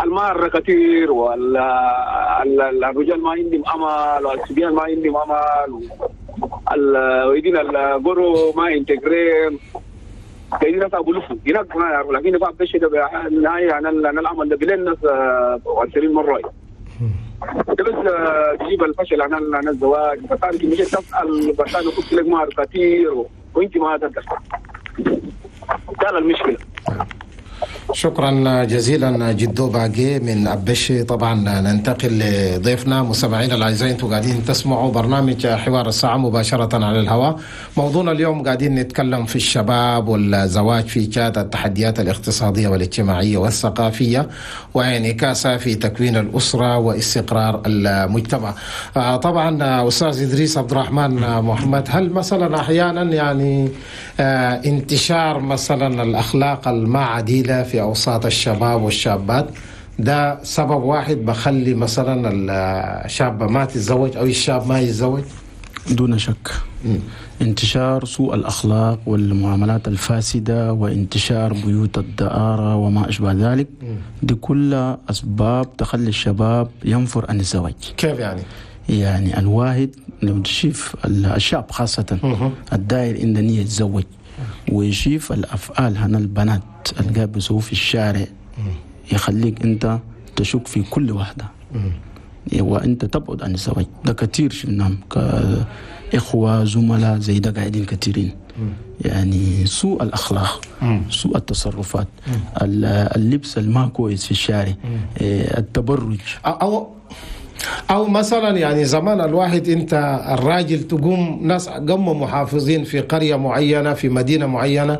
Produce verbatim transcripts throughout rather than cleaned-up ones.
المهر كثير، والرجال ما عندهم امل، والصبيان ما عندهم امل، ويدين الجرو ما انتجرين كاين ناس ابو لفو هناك ما يعرفوا، لكن بعد الشيء ده النهاية انا انا العمل ده بلين ناس عشرين مرة ده بس تجيب الفشل. انا انا الزواج بس مش تسال، بس انا قلت لك مهر كثير وانت ما تقدر. ده المشكلة. شكرا جزيلا جدو باقي من أبشي. طبعا ننتقل لضيفنا. مستمعينا الاعزاء، انتم قاعدين تسمعوا برنامج حوار الساعة مباشرة على الهواء. موضوعنا اليوم قاعدين نتكلم في الشباب والزواج في تشاد، التحديات الاقتصادية والاجتماعية والثقافية وانعكاسها في تكوين الاسرة واستقرار المجتمع. طبعا استاذ ادريس عبد الرحمن محمد، هل مثلا احيانا يعني انتشار مثلا الاخلاق الما عديله في أوساط الشباب والشابات ده سبب واحد بخلي مثلا الشابة ما تتزوج أو الشاب ما يتزوج؟ دون شك. م. انتشار سوء الأخلاق والمعاملات الفاسدة وانتشار بيوت الدعارة وما أشبه ذلك، دي كلها أسباب تخلي الشباب ينفر عن الزواج. كيف يعني؟ يعني الواحد لو تشوف الشاب خاصة الداير إن نية يتزوج ويشوف الأفعال هنا البنات اللي بيسووا في الشارع يخليك أنت تشك في كل واحدة وأنت تبعد عن الزواج. ده كثير شفناهم كإخوة زملاء زي ده قاعدين كثيرين. يعني سوء الأخلاق، سوء التصرفات، اللبس الما كويس في الشارع، التبرج. أو أو مثلا يعني زمان الواحد أنت الراجل تقوم ناس قموا محافظين في قرية معينة في مدينة معينة،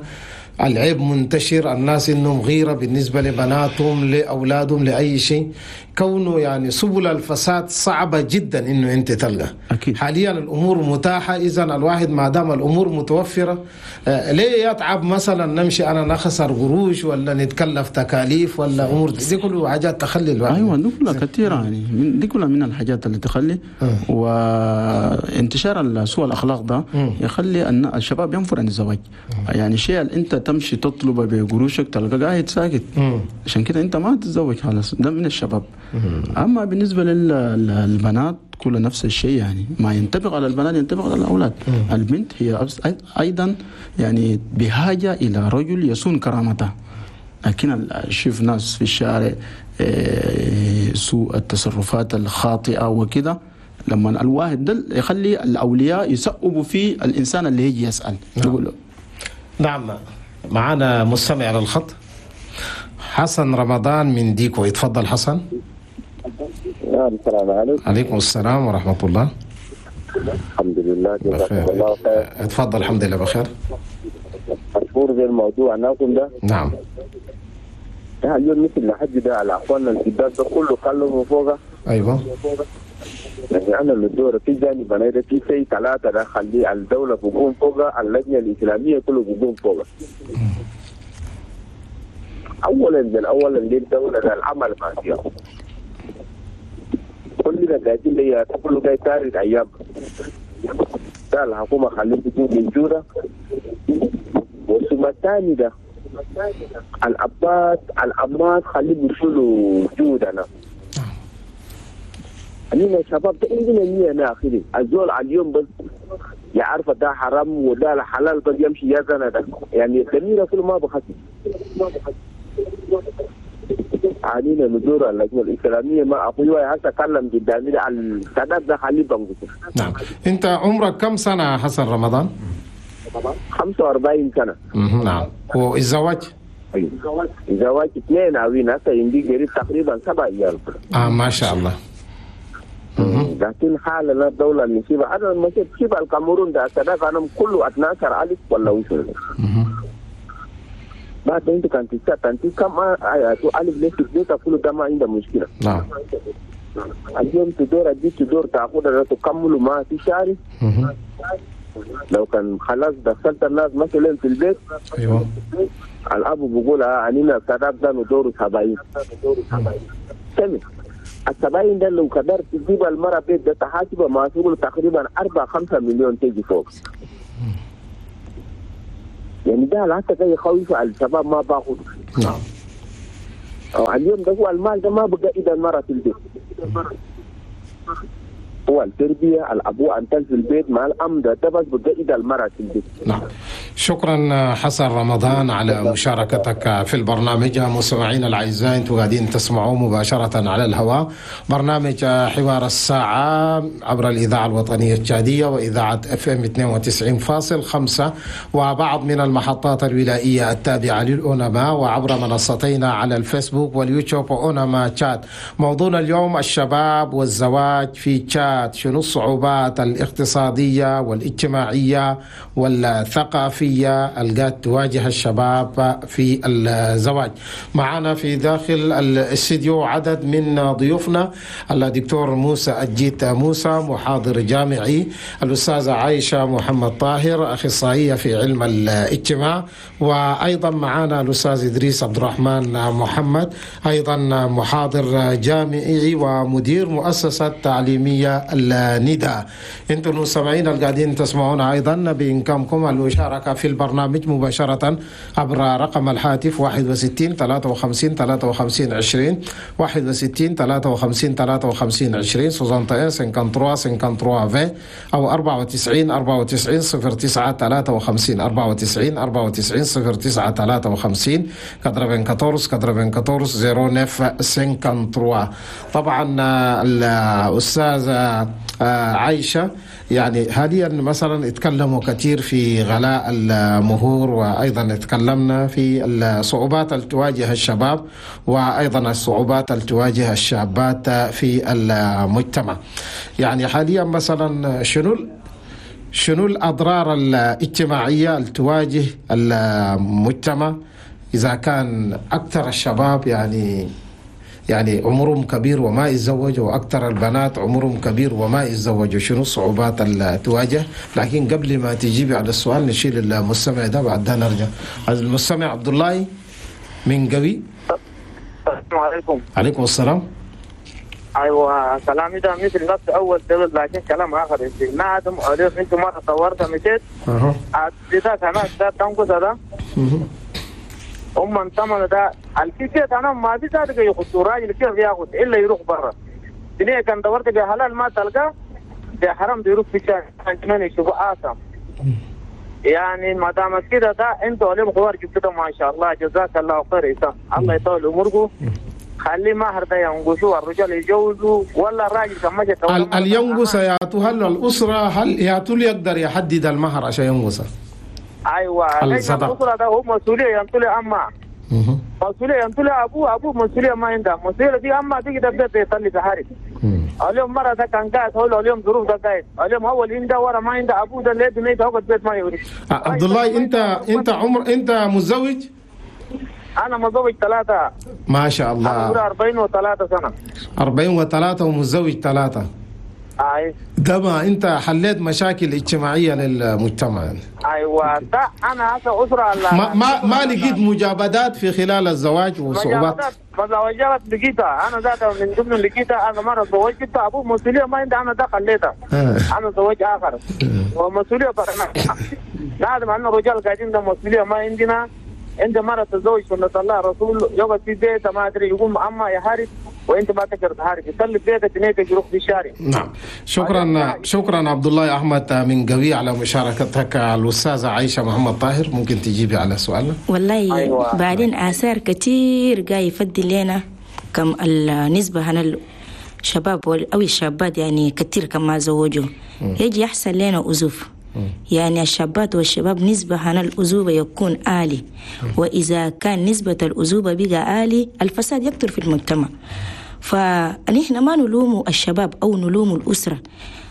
العيب منتشر، الناس إنهم غيرة بالنسبة لبناتهم لأولادهم لأي شيء، كونه يعني سبل الفساد صعبة جدا إنه أنت تلقى. أكيد. حاليا الأمور متاحة، إذا الواحد ما دام الأمور متوفرة ليه يتعب مثلا نمشي أنا نخسر قروش ولا نتكلف تكاليف ولا أمور دي كلها حاجات تخلي الواحد. أيوة دي كلها كثيرة يعني من دي كلها من الحاجات اللي تخلي. أه. وانتشار سوء الأخلاق ده يخلي أن الشباب ينفر عن الزواج. أه. يعني شيء أنت تمشي تطلبه بقروشك تلقى قاعد ساكت، عشان كده أنت ما تتزوج خلاص. ده من الشباب. أما بالنسبة للبنات كل نفس الشيء، يعني ما ينطبق على البنات ينطبق على الأولاد. مم. البنت هي أيضا يعني بحاجة إلى رجل يصون كرامتها، لكن شوف ناس في الشارع سوء التصرفات الخاطئة وكده، لما الواحد ده يخلي الأولياء يسقبوا في الإنسان اللي يجي يسأل. نعم. يقول له. نعم، معنا مستمع على الخط حسن رمضان من ديكو. يتفضل حسن. السلام عليكم. عليكم السلام ورحمة الله. الحمد لله جزاكم الله خير. اتفضل. الحمد لله بخير. مشهور زي الموضوع ناكم ده. نعم. ده اليوم مثل لحد ده على اخواننا الكبار ده كله كلموا فوقه. ايوه. يعني انا اللي دور في جانب انا في شيء ثلاثة ده خلي الدولة بقوم فوقه، اللجنة الإسلامية كله بقوم فوقه. اولا بالاول اللي الدولة ده العمل ما فيها. كلنا قاعدين لي كله جاي تارد ايام ده الحكومة خليه تكون موجودة. وثم الثاني ده الابات الامات خليه يشيلوا جودنا. خلينا الشباب ده عندنا نية ناخذ الزول على اليوم بس يعرف ده حرام وده حلال بس يمشي يزنا ده يعني الدميره كله ما بخسر. علينا ندور اللجنة الاسلامية ما اخوي هسه كلم قدامي على السداد ده خليه بنقص. نعم، انت عمرك كم سنة حسن رمضان؟ خمسة وأربعين سنة. نعم، والزواج؟ ايوه الزواج اثنين عوين هسه عندي قريب تقريبا سبع ايام. اه ما شاء الله. لكن حالنا الدولة المصيبة انا لما شفت الكاميرون ده السداد انا كله اثنا عشر ألف ولا وصل. بعد انت كان تسعة كم ألف ليش تبيت كله ده ما عنده مشكلة. نعم. اليوم تدور أدي تدور تأخذ تكملوا ما في شهر. لو كان خلاص دخلت الناس مثلا في البيت. ايوه. الأب بيقول عنينا السداد ده ندور سبعين. تمام. السبعين ده لو قدرت تجيب المرة بيت ده تحاسبه ما تقول تقريبا أربعة خمسة مليون تيجي فوق. يعني ده حتى جاي يخوف على الشباب ما باخذ. نعم. اليوم ده هو المال ده ما بقى إذا المرأة في البيت، هو التربية الأبو أنتل في البيت مع الأم ده ده بس بقى إذا المرأة في البيت. نعم، شكرا حسن رمضان على مشاركتك في البرنامج. مستمعينا الأعزاء، انتم قاعدين تسمعوا مباشرة على الهواء برنامج حوار الساعة عبر الإذاعة الوطنية التشادية وإذاعة اف ام اثنين وتسعين فاصل خمسة وبعض من المحطات الولائية التابعة للأونما، وعبر منصتينا على الفيسبوك واليوتيوب وأونما تشاد. موضوعنا اليوم الشباب والزواج في تشاد، شنو الصعوبات الاقتصادية والاجتماعية والثقافية اللي تواجه الشباب في الزواج. معنا في داخل الاستديو عدد من ضيوفنا: الدكتور موسى أجيت موسى، محاضر جامعي، الأستاذة عائشة محمد طاهر، أخصائية في علم الاجتماع، وأيضا معنا الأستاذ إدريس عبد الرحمن محمد، أيضا محاضر جامعي ومدير مؤسسة تعليمية النداء. انتم المستمعين القاعدين تسمعونا ايضا بامكانكم المشاركة في البرنامج مباشرة عبر رقم الهاتف واحد وستين ثلاثة وخمسين ثلاثة وخمسين عشرين، واحد وستين ثلاثة وخمسين ثلاثة وخمسين عشرين، soixante et un cinquante-trois cinquante-trois vingt، او أربعة وتسعين أربعة وتسعين صفر تسعة ثلاثة وخمسين، أربعة وتسعين أربعة وتسعين صفر تسعة ثلاثة وخمسين، quatre-vingt-quatorze quatre-vingt-quatorze zéro neuf cinquante-trois. طبعا الأستاذة عايشة، يعني حاليا مثلا اتكلموا كثير في غلاء المهور، وايضا اتكلمنا في الصعوبات التي تواجه الشباب وايضا الصعوبات التي تواجه الشابات في المجتمع. يعني حاليا مثلا شنو شنو الاضرار الاجتماعية التي تواجه المجتمع اذا كان اكثر الشباب يعني يعني عمرهم كبير وما يتزوجوا، واكثر البنات عمرهم كبير وما يتزوجوا؟ شنو الصعوبات اللي تواجه؟ لكن قبل ما تجيبي على السؤال نشيل المستمع ده بعدها نرجع. المستمع عبد الله من قوي. السلام عليكم. عليكم السلام. ايوه كلامي ده مثل نفس اول دول، لكن كلام اخر. ما عدم انتم مرة طورت مشيت اها ده تنقص ده هم انتمنا ده الكيسيت انا ما في ذلك ياخذ راجل كيف ياخذ الا يروح برا. دنيا كان دورت بحلال ما تلقى بحرام يروح في الشارع كمان يشوفوا آثم. يعني ما دام كده ده انتوا عليهم خوار جبتوا ما شاء الله، جزاك الله خير إسام. الله يطول عمركم. خلي مهر ده ينقصوا الرجال يجوزوا ولا الراجل كان مشى الينقص ياتو هل الاسرة هل ياتو يقدر يحدد المهر عشان ينقصه؟ ايوه الاسرة ده هو مسؤولية ينطلي اما مسؤولية ينطلي ابوه ابوه مسؤولية ما عنده مسؤولية دي اما تيجي تبدا يطلي في اليوم مرة ده كان قاعد هو اليوم ظروف ده قاعد اليوم هو اللي عنده ورا ما عنده ابوه ده اللي بنيته هو البيت ما يوري. عبد الله انت انت عمر انت متزوج؟ انا متزوج ثلاثة. ما شاء الله. عمري أربعين وثلاثة سنة. أربعين وثلاثة ومتزوج ثلاثة. اي ده ما انت حليت مشاكل اجتماعية للمجتمع يعني. ايوه ده انا هسه اسره ما ما, ما لقيت مجابدات في خلال الزواج وصعوبات؟ مجابدات لقيتها انا ذاتها من ضمن لقيتها. انا مرة تزوجت ابوه مسؤولية ما عندي انا ده خليتها. انا زوج اخر ومسؤولية طبعا لازم ان الرجال قاعدين ده مسؤولية ما عندنا. انت مرة تزوج سنة الله رسول يقعد في بيته ما ادري يقوم اما يحارب وانت ما تقدر تحارب يسلم بيتك نيتك يروح في الشارع. نعم شكرا شكرا عبد الله احمد من قوي على مشاركتك. الاستاذة عائشة محمد طاهر ممكن تجيبي على سؤالنا؟ والله أيوة. بعدين اثار كثير جاي يفضل لنا كم النسبة هنا الشباب او الشابات يعني كثير كما زوجوا يجي يحصل لنا أزوف. يعني الشابات والشباب نسبة عن الأزوبة يكون عالي، وإذا كان نسبة الأزوبة بقى عالي الفساد يكثر في المجتمع. فنحن ما نلوم الشباب أو نلوم الأسرة،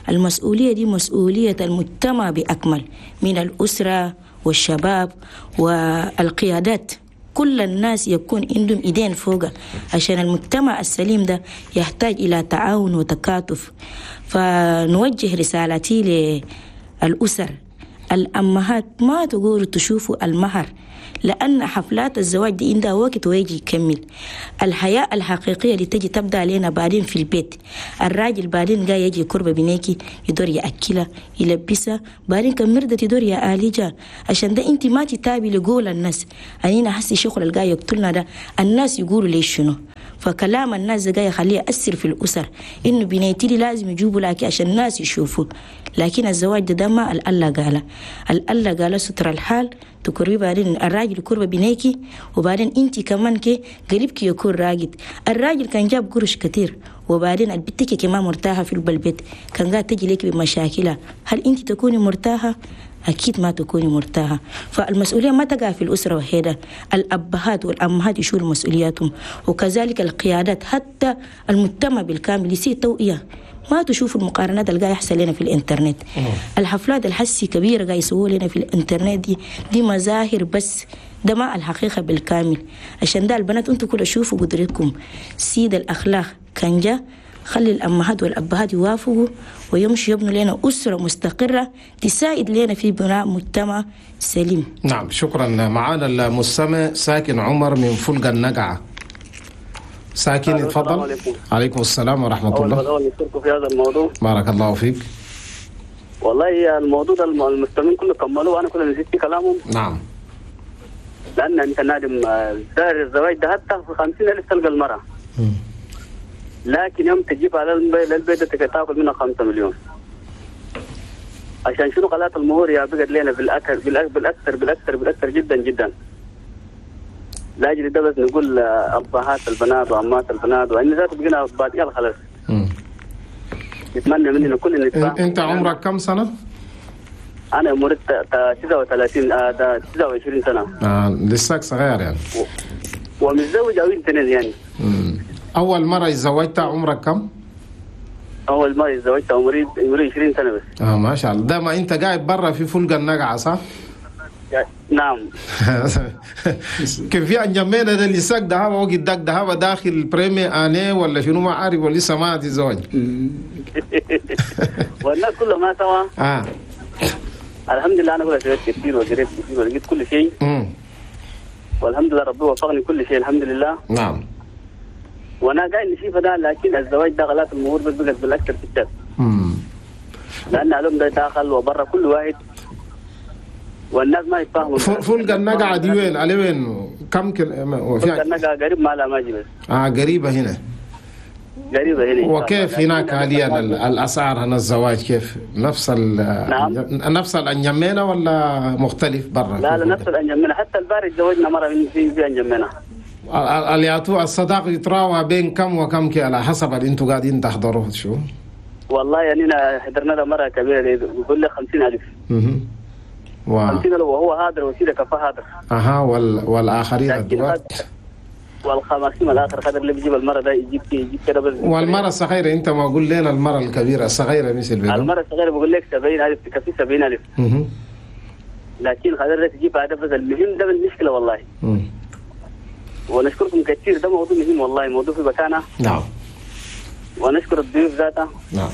المسؤولية دي مسؤولية المجتمع بأكمل من الأسرة والشباب والقيادات. كل الناس يكون عندهم إيدين فوق عشان المجتمع السليم ده يحتاج إلى تعاون وتكاتف. فنوجه رسالتي ل الأسر الأمهات ما تقولوا تشوفوا المهر لأن حفلات الزواج دي عندها وقت ويجي يكمل. الحياة الحقيقية اللي تجي تبدأ علينا بعدين في البيت. الراجل بعدين جاي يجي قربة بنيكي يدور يأكلها يلبسها، بعدين كمردة يدور يا آليجا. عشان ده انت ما تتابي لقول الناس. أنا حسي شغل الجاي يقتلنا ده، الناس يقولوا ليش شنو. فكلام الناس جاي يخليه يأثر في الأسر، إنه بنيتي لازم يجيبوا لك عشان الناس يشوفوا. لكن الزواج ده, ده ما الله قال، الله قال ستر الحال تكربي، بعدين الراجل كربة بنيكي، وبعدين انت كمان كي قريبك يكون راجد. الراجل كان جاب قرش كتير، وبعدين البتك كمان مرتاحة في البيت، كان قاعد تجي لك بمشاكلها. هل انت تكوني مرتاحة؟ أكيد ما تكوني مرتاحة. فالمسؤولية ما تقع في الأسرة وحيدة، الأبهات والأمهات يشيلوا مسؤولياتهم، وكذلك القيادات، حتى المجتمع بالكامل يصير توعية. ما تشوفوا المقارنات اللي قاعد يحصل لنا في الانترنت. أوه. الحفلات الحسي كبيرة قاعد يسووا لنا في الانترنت دي, دي مظاهر بس، ده ما الحقيقة بالكامل. عشان ده البنات انتوا كل شوفوا قدرتكم. سيد الأخلاق كان جا خلي الأمهات والأبهات يوافقوا ويمشوا يبنوا لنا أسرة مستقرة تساعد لنا في بناء مجتمع سليم. نعم شكرا. معانا المستمع ساكن عمر من فلق النقعة. ساكن اتفضل. عليكم. عليكم السلام ورحمة الله. أول نشكركم في هذا الموضوع. بارك الله فيك. والله الموضوع ده المستمعين كله كملوه وأنا كله نسيت في كلامهم. نعم. لأن أنت نادم سعر الزواج ده حتى في خمسين ألف تلقى المرأة. م. لكن يوم تجيب على البيت تاكل منها خمسة مليون. عشان شنو غلاء المهور يا بقت لنا بالأكثر بالأكثر بالأكثر بالأكثر جدا جدا. لاجل ده بس نقول أبهات البنات وأمات البنات وإن ذات بقينا بعد يلا خلاص. نتمنى مننا كل نتفاهم. أنت عمرك كم سنة؟ أنا عمري تسعة وثلاثين تسعة وعشرين سنة. آه لساك صغير يعني. و... ومتزوج أو اثنين يعني. مم. أول مرة تزوجت عمرك كم؟ أول مرة تزوجت عمري عمري عشرين سنة بس. آه ما شاء الله. ده ما أنت قاعد برا في فلق النقعة صح؟ نعم. كان في انجمينا ده اللي ساق ده وقت داك ده داخل بريمي اني ولا شنو ما عارف ولا لسه ما تزوج. والناس كلها ما سوا. اه الحمد لله انا كل سويت كثير وقريت كثير ولقيت كل شيء. امم والحمد لله ربي وفقني كل شيء الحمد لله. نعم. وانا قاعد نشوف ده، لكن الزواج ده غلاف المهور بس بقت بالاكثر في الشاب. امم لان علوم ده داخل وبرا كل واحد والناس ما يتفاهموا. فلق النقعة دي وين؟ على وين؟ كم كل فلق النقعة قريب ما لا ماجي بس. اه قريبة هنا. قريبة هنا. وكيف هناك حاليا الأسعار هنا الزواج كيف؟ نفس ال نعم. نفس الأنجمينة ولا مختلف برا؟ لا لا نفس الأنجمينة، حتى البارد تزوجنا مرة من في في أنجمينة. اللي الصداق يتراوى بين كم وكم كي على حسب اللي انتم قاعدين تحضروه شو؟ والله يعني أنا حضرنا له مرة كبيرة يقول لي خمسين ألف. اها. و... وهو هادر وسيلة كفى هادر. اها وال... والاخرين الدوات والخمسين الاخر قدر اللي بيجيب المرة ده يجيب يجيب كده بس. والمرة الصغيرة انت ما قول لنا المرة الكبيرة الصغيرة مثل بيقول. المرة الصغيرة بقول لك سبعين ألف تكفي سبعين ألف. اها. لكن قدر تجيب هذا بس المهم ده المشكلة والله. امم ونشكركم كثير، ده موضوع مهم والله، موضوع في مكانه. نعم. ونشكر الضيوف ذاته. نعم.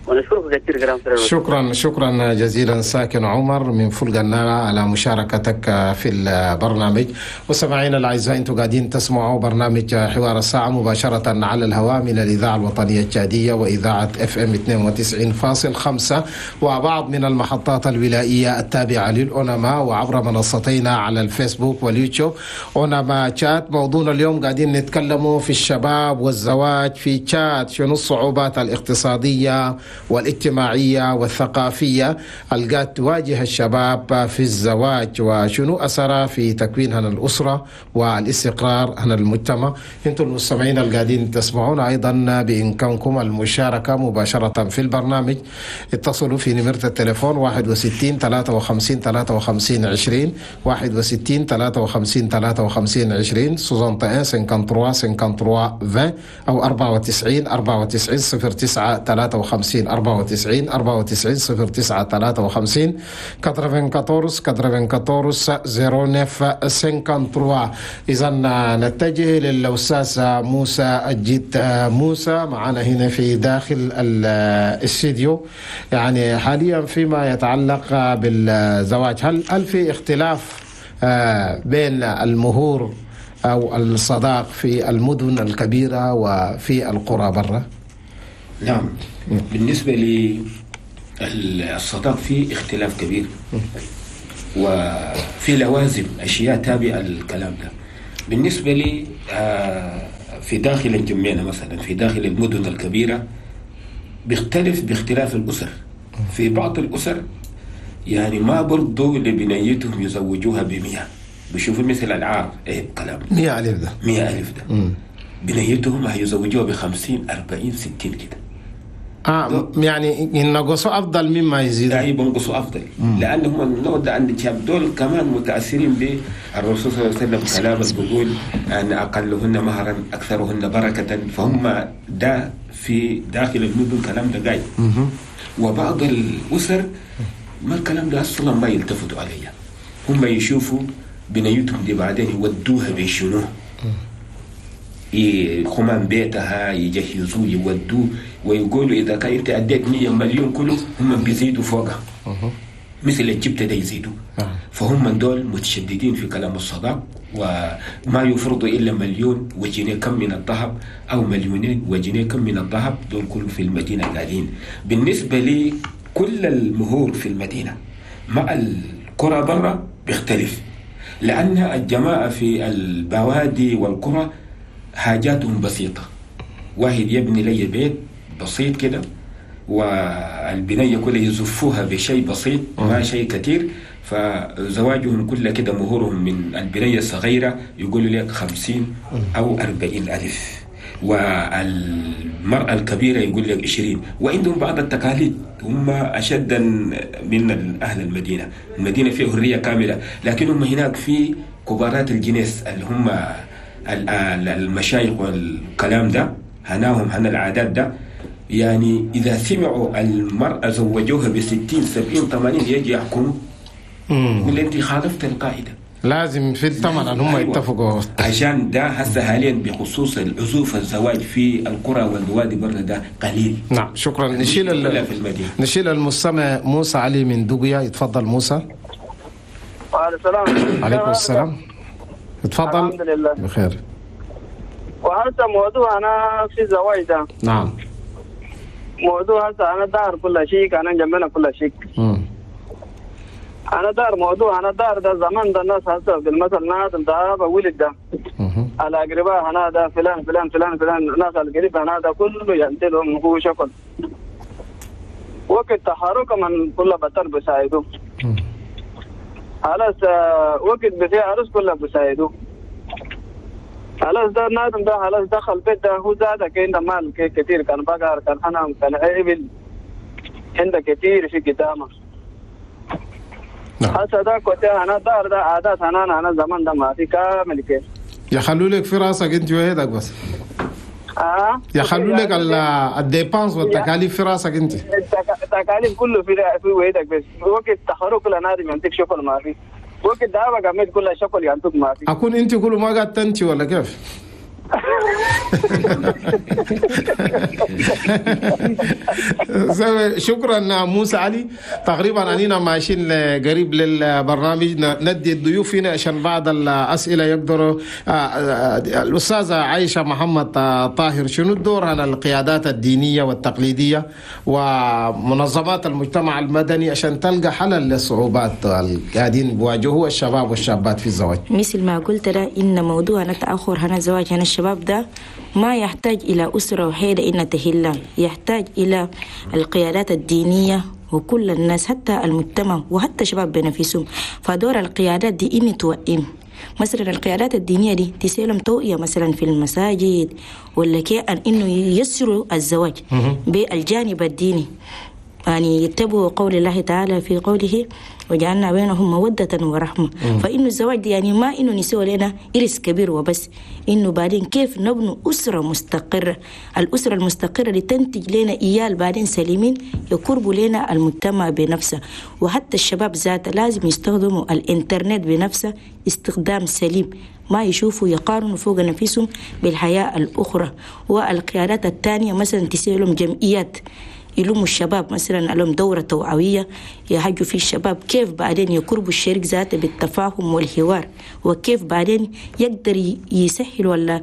ونشكرك كثير كرام. شكرا شكرا جزيلا ساكن عمر من فلق النار على مشاركتك في البرنامج. وسماعينا الاعزاء انتم قاعدين تسمعوا برنامج حوار الساعة مباشرة على الهواء من الاذاعة الوطنية التشاديه واذاعة اف ام اثنين وتسعين فاصل خمسة وبعض من المحطات الولائيه التابعة للأونما وعبر منصتينا على الفيسبوك واليوتيوب اونما تشات. موضوعنا اليوم قاعدين نتكلموا في الشباب والزواج في تشاد، شنو الصعوبات الاقتصادية والاجتماعية والثقافية التي تواجه الشباب في الزواج وشنو أثرها في تكوين هنا الأسرة والاستقرار هنا المجتمع. انتم المستمعين القاعدين تسمعون أيضا بإمكانكم المشاركة مباشرة في البرنامج. اتصلوا في نمرة التليفون واحد وستين ثلاثة وخمسين ثلاثة وخمسين عشرين واحد وستين ثلاثة وخمسين ثلاثة وخمسين عشرين واحد وستين ثلاثة وخمسين ثلاثة وخمسين عشرين أو أربعة وتسعين أربعة وتسعين صفر تسعة ثلاثة وخمسين أربعة وتسعين أربعة وتسعين صفر تسعة ثلاثة وخمسين أربعة وتسعين أربعة وتسعين صفر تسعة ثلاثة وخمسين. إذا نتجه للأستاذ موسى الجيت موسى معنا هنا في داخل الاستديو. يعني حاليا فيما يتعلق بالزواج، هل هل في اختلاف بين المهور أو الصداق في المدن الكبيرة وفي القرى برا؟ نعم، بالنسبة للصداق في اختلاف كبير وفي لوازم أشياء تابعة للكلام ده. بالنسبة لي في داخل الجمينة مثلا، في داخل المدن الكبيرة بيختلف باختلاف الأسر. في بعض الأسر يعني ما برضو لبنيتهم يزوجوها بمئة، بيشوفوا مثل العار ايه كلام مئة ألف ده مئة ألف ده مم. بنيتهم هيزوجوها بخمسين أربعين ستين كده. آه يعني ينقصوا أفضل مما يزيدوا. يعني بنقصوا أفضل لأنهم النوع ده عند الشاب دول كمان متأثرين بالرسول صلى الله عليه وسلم كلامه بيقول أن أقلهن مهرا أكثرهن بركة، فهم ده في داخل المدن كلام ده جاي. وبعض الأسر ما الكلام ده أصلا ما يلتفتوا عليه، هم يشوفوا بنيتهم دي بعدين يودوها بشنو، خمان بيتها يجهزوه يودوه ويقولوا إذا كان أنت أديت مية مليون كله هم بيزيدوا فوقها مثل الجبتة ده يزيدوا. فهم من دول متشددين في كلام الصداق وما يفرضوا إلا مليون وجنيه كم من الذهب أو مليونين وجنيه كم من الذهب، دول كله في المدينة قاعدين. بالنسبة لي كل المهور في المدينة مع القرى برا بيختلف، لأن الجماعة في البوادي والقرى حاجاتهم بسيطة. واحد يبني لي بيت بسيط كده والبنية كلها يزفوها بشيء بسيط ما شيء كثير، فزواجهم كله كده مهورهم من البنية الصغيرة يقولوا لك خمسين أو أربعين ألف، والمرأة الكبيرة يقول لك عشرين. وعندهم بعض التقاليد هم أشد من أهل المدينة. المدينة فيها حرية كاملة، لكن هم هناك في كبارات الجنس اللي هم المشايخ والكلام ده، هناهم هنا العادات ده. يعني إذا سمعوا المرأة زوجوها بستين سبعين ثمانين يجي يحكموا يقول أنت خالفت القاعدة، لازم في الثمن أن هم يتفقوا. عشان ده هسه حاليا بخصوص العزوف الزواج في القرى والبوادي برا ده قليل. نعم شكرا. نشيل ال... نشيل المستمع موسى علي من دقيا. يتفضل موسى. وعليكم السلام. عليكم السلام. اتفضل. الحمد لله بخير. وهذا موضوع أنا في الزواج ده. نعم. موضوع هسه أنا دار كل شيء، أنا جنبنا كل شيء. أنا دار موضوع أنا دار ده زمان ده الناس هسه بالمثل ناس ده ولد ده على أقرباء هنا ده فلان فلان فلان فلان ناس القريب هنا ده كله ينتلهم هو شكل وقت تحرك من كل بطر بساعده. خلاص وقت بفي عروس كله بساعده. خلاص ده نادم ده خلاص دخل بيت ده هو زاد كان مال كثير، كان بقر كان حنم كان إبل عنده كثير في قدامه. هسه ده كنت أنا دار ده عادات أنا أنا زمان ده ما في كامل كده. يخلوا لك في راسك أنت وحيدك بس. آه. يخلوا لك ال dépenses والتكاليف في راسك أنت. التكاليف كله في في وحيدك بس. وقت تخرج كل نادم ينتج شغل ما في. وقت ده بقى كل شغل ينتج ما في. أكون أنت كله ما قاعد تنتي ولا كيف؟ شكرا موسى علي. تقريبا اننا ماشيين قريب للبرنامج، ندي الضيوف هنا عشان بعض الاسئلة يقدروا. الاستاذة عائشة محمد طاهر، شنو الدور على القيادات الدينية والتقليديه ومنظمات المجتمع المدني عشان تلقى حل للصعوبات اللي قاعدين بيواجهوها الشباب والشابات في الزواج؟ مثل ما قلت ده ان موضوع تاخر هنا الزواج هنا الشباب ده ما يحتاج إلى أسرة وحيدة إن تهلا، يحتاج إلى القيادات الدينية وكل الناس حتى المجتمع وحتى شباب بنفسهم. فدور القيادات دي إن توئم مثلا القيادات الدينية دي تسلم توعية مثلا في المساجد ولا كي أن إنه ييسروا الزواج بالجانب الديني، يعني يتبعوا قول الله تعالى في قوله وجعلنا بينهم مودة ورحمة. فإنه الزواج دي يعني ما إنه نسوي لنا إرث كبير وبس، إنه بعدين كيف نبني أسرة مستقرة، الأسرة المستقرة اللي تنتج لنا إيال بعدين سليمين يقربوا لنا المجتمع بنفسه. وحتى الشباب ذاته لازم يستخدموا الإنترنت بنفسه استخدام سليم، ما يشوفوا يقارنوا فوق نفسهم بالحياة الأخرى. والقيادات الثانية مثلا تسيلهم جمعيات يلموا الشباب مثلا لهم دورة توعوية يحجوا في الشباب كيف بعدين يقربوا الشريك ذاته بالتفاهم والحوار، وكيف بعدين يقدر يسهل ولا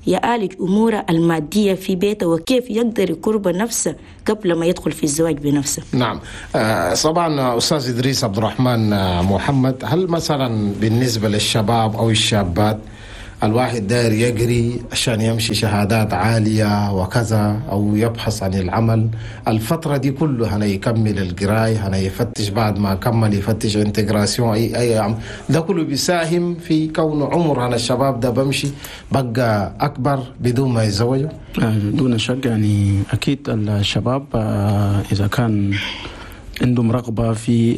يعالج أموره المادية في بيته، وكيف يقدر يقرب نفسه قبل ما يدخل في الزواج بنفسه. نعم. طبعا أستاذ إدريس عبد الرحمن محمد، هل مثلا بالنسبة للشباب أو الشابات الواحد داير يجري عشان يمشي شهادات عالية وكذا أو يبحث عن العمل الفترة دي كلها، هنا يكمل القراية، هنا يفتش بعد ما كمل يفتش intégration أي أي عم. ده كله بيساهم في كون عمر هنا الشباب ده بمشي بقى أكبر بدون ما يتزوجوا؟ دون شك يعني أكيد الشباب إذا كان عندهم رغبة في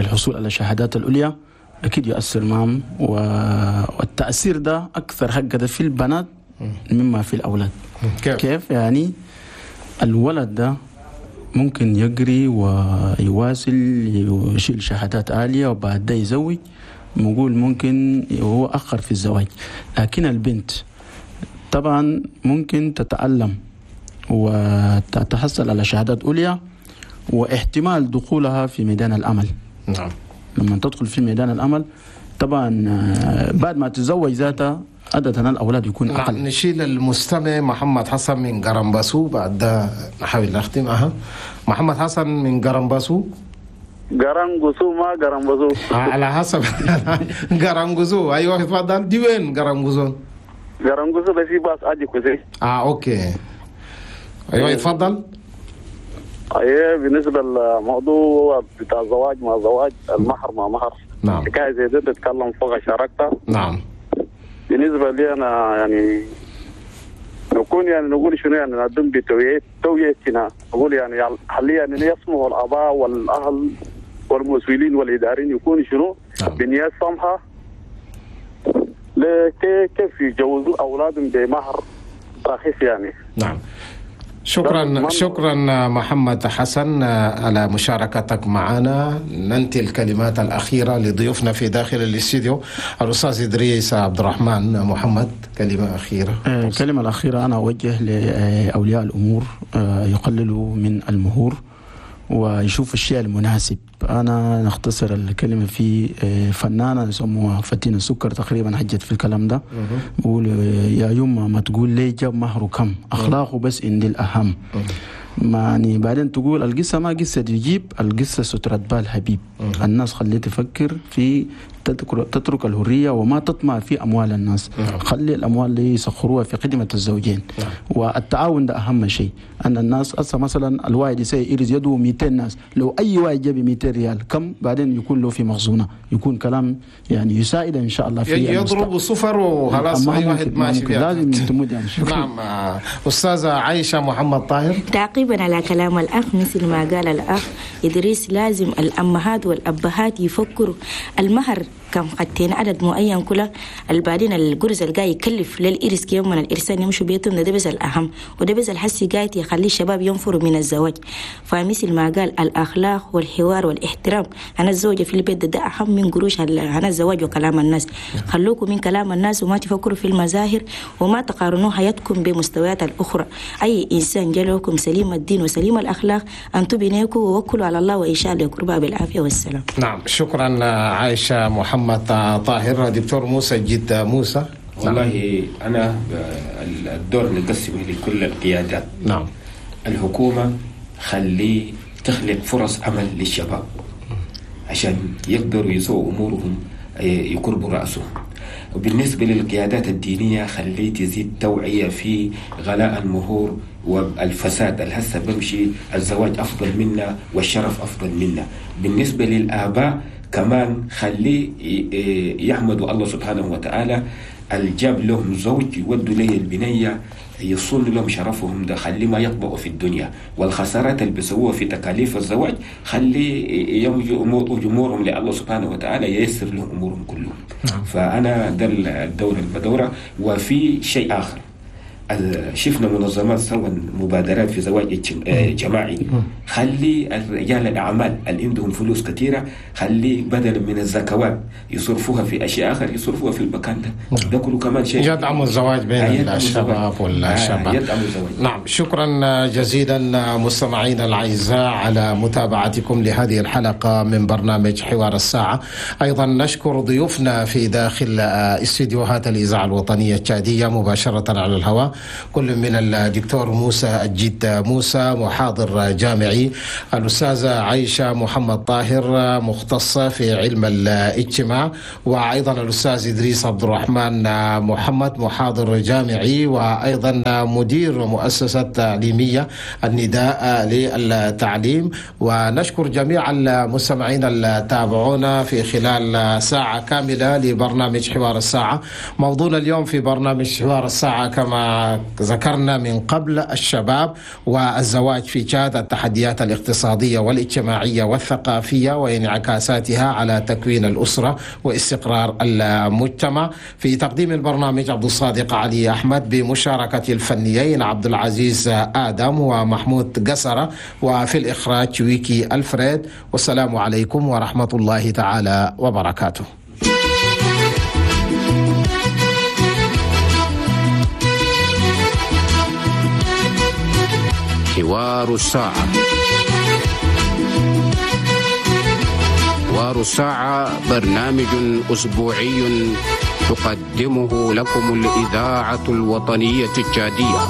الحصول على الشهادات العليا أكيد يؤثر معهم، والتأثير ده أكثر حاجة ده في البنات مما في الأولاد. كيف؟ كيف يعني الولد ده ممكن يجري ويواصل يشيل شهادات عالية وبعد ده يزوج، نقول ممكن هو أخر في الزواج. لكن البنت طبعا ممكن تتعلم وتتحصل على شهادات عليا واحتمال دخولها في ميدان العمل. نعم. لما تدخل في ميدان العمل طبعا بعد ما تتزوج ذاتها عادة الأولاد يكون أقل. نعم. نشيل المستمع محمد حسن من قرنباسو، بعد ده نحاول نختم. أها محمد حسن من قرنباسو. قرنقسو ما قرنباسو على حسب. قرنقسو أيوة تفضل. دي وين قرنقسو؟ قرنقسو بس باس أجي كوزي. آه okay أيوة تفضل. ايه بالنسبة للموضوع بتاع الزواج مع زواج المهر مع مهر. نعم. حكاية زي دي تتكلم فوق شاركتها. نعم. بالنسبة لي انا يعني نكون يعني نقول شنو يعني نقدم بتوعيه توعيتنا نقول يعني حاليا يعني يسمعوا الاباء والاهل والمسؤولين والاداريين يكون شنو نعم. بنية سمحه كيف يجوزوا اولادهم بمهر رخيص يعني. نعم. شكرا شكرا محمد حسن على مشاركتك معنا. ننتهي الكلمات الأخيرة لضيوفنا في داخل الاستديو. الأستاذ إدريس عبد الرحمن محمد، كلمة أخيرة. الكلمة الأخيرة أنا أوجه لأولياء الأمور يقللوا من المهور ويشوفوا الشيء المناسب. أنا نختصر الكلمة في فنانة يسموها فتينة سكر تقريبا حجت في الكلام ده، بقول يا يما ما تقول لي جاب مهره كم، أخلاقه بس عندي الأهم. ما يعني بعدين تقول القصة ما قصة يجيب، القصة سترة بال حبيب. الناس خليه تفكر في تترك الهرية وما تطمع في أموال الناس. خلي الأموال اللي يسخروها في خدمة الزوجين. والتعاون ده أهم شيء. أن الناس أصلا مثلا الواحد يسوي إرز يده مئتين ناس، لو أي واحد جاب مئتين ريال كم بعدين يكون له في مخزونة، يكون كلام يعني يساعد إن شاء الله في يضرب صفر وخلاص أي واحد ماشي فيها لازم تمد يعني. نعم. أستاذة عائشة محمد طاهر، تعقيبا على كلام الأخ، مثل ما قال الأخ إدريس لازم الأمهات والأبهات يفكروا المهر كم خدتين عدد معين كله البعدين الجرز الجاي يكلف للإرس كيوم من الإرسان يمشوا بيتهم، ده بس الأهم وده بس الحس جاي يخلي الشباب ينفروا من الزواج. فمثل ما قال الأخلاق والحوار والاحترام أنا الزوجة في البيت ده, ده أهم من قروش أنا الزواج وكلام الناس. خلوكم من كلام الناس وما تفكروا في المظاهر وما تقارنوا حياتكم بمستويات الأخرى. أي إنسان جالكم سليم الدين وسليم الأخلاق أنتم بنيكم ووكلوا على الله وإن شاء الله يقربها بالعافية والسلام. نعم شكرا عائشة محمد طاهر. دكتور موسى جد موسى، والله أنا الدور نقسمه لكل القيادات. نعم. الحكومة خلي تخلق فرص عمل للشباب عشان يقدروا يسووا أمورهم يقربوا رأسهم. وبالنسبة للقيادات الدينية خلي تزيد توعية في غلاء المهور والفساد الهسه بمشي، الزواج أفضل منا والشرف أفضل منا. بالنسبة للآباء كمان خلي يحمدوا الله سبحانه وتعالى الجاب لهم زوج يودوا ليه البنية يصون لهم شرفهم، ده خلي ما يطبقوا في الدنيا والخسارات اللي بيسووها في تكاليف الزواج خلي يمجوا أمورهم لله سبحانه وتعالى ييسر لهم أمورهم كلهم. فأنا ده الدور البدورة. وفي شيء آخر، شفنا منظمات سوى مبادرات في زواج جماعي، خلي رجال الأعمال اللي عندهم فلوس كثيرة خلي بدل من الزكوات يصرفوها في أشياء آخر يصرفوها في المكان ده. ده كله كمان شيء يدعم الزواج بين الشباب والشابات. يدعم الزواج. نعم، شكرا جزيلا مستمعينا الأعزاء على متابعتكم لهذه الحلقة من برنامج حوار الساعة. أيضا نشكر ضيوفنا في داخل استديوهات الإذاعة الوطنية التشادية مباشرة على الهواء، كل من الدكتور موسى الجد موسى محاضر جامعي، الأستاذة عائشة محمد طاهر مختصة في علم الاجتماع، وأيضا الأستاذ إدريس عبد الرحمن محمد محاضر جامعي وأيضا مدير مؤسسة تعليمية النداء للتعليم. ونشكر جميع المستمعين اللي تابعونا في خلال ساعة كاملة لبرنامج حوار الساعة. موضوعنا اليوم في برنامج حوار الساعة كما ذكرنا من قبل الشباب والزواج في تشاد، التحديات الاقتصادية والاجتماعية والثقافية وانعكاساتها على تكوين الأسرة واستقرار المجتمع. في تقديم البرنامج عبد الصادق علي أحمد بمشاركة الفنيين عبد العزيز آدم ومحمود قسرة، وفي الإخراج ويكي ألفريد. والسلام عليكم ورحمة الله تعالى وبركاته. حوار الساعة. حوار الساعة برنامج أسبوعي تقدمه لكم الإذاعة الوطنية التشادية.